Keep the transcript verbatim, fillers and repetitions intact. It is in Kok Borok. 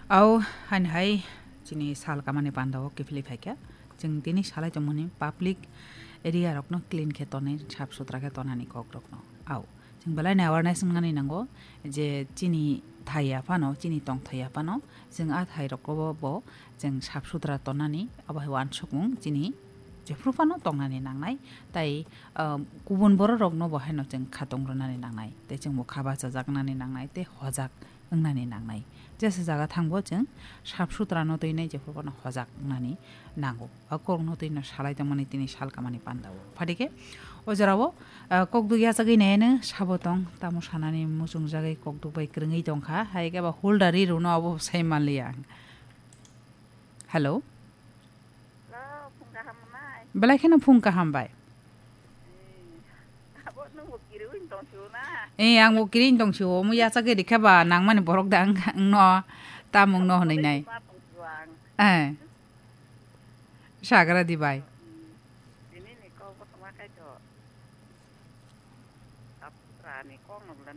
Au, hain hai, chini sal kamani panda o kiphilwi phaikha. Chwng tini salai tongmani public area rokno clean khe tonwi, sap sutra khe tonani kok rokno. Au, chwng belai ni awareness wngnani nango je chini thai ya phano, chini tong thai ya phano, chwng a thai rokbo bo chwng sap sutra tonani, abo hai uansukmung chini jephru phano tongnani nangnai. Tai, ah, kubun borok rokno bo haino chwng khatung rwnani nangnai. Tai chwng bo kha bachajak nani nangnai, tei hojak wngnani nangnai. Jesa jaga thangbo chwng sap sutra no twi nai, jephru phano hojak wngnani nango. A kok no twi no salai tongmani tini sal kamani panda o. Phadi khe o jora o, ah, kok duk yachagwi nai ano sabo tong, tamo sanani muchung jagwi kok duk bai kwrwngwi tongkha. Hai khe ba holder ri rwno abo sai manliya ang. Hello. Hello, phung kaham nai. Belai kheno phung kaham bai. Eh, abo nungbo kiriwin tong sio na. Eh, ang bo kirin tong sio, omo yachagwi rikha ba nangmani borok da ang, ang no tamung no hwnwi nai. Ma tong sio ang. Eh. Sagra di bai. Hmm. Tini ni kok bo tongma khai to. Sap sutra ni kok no bwla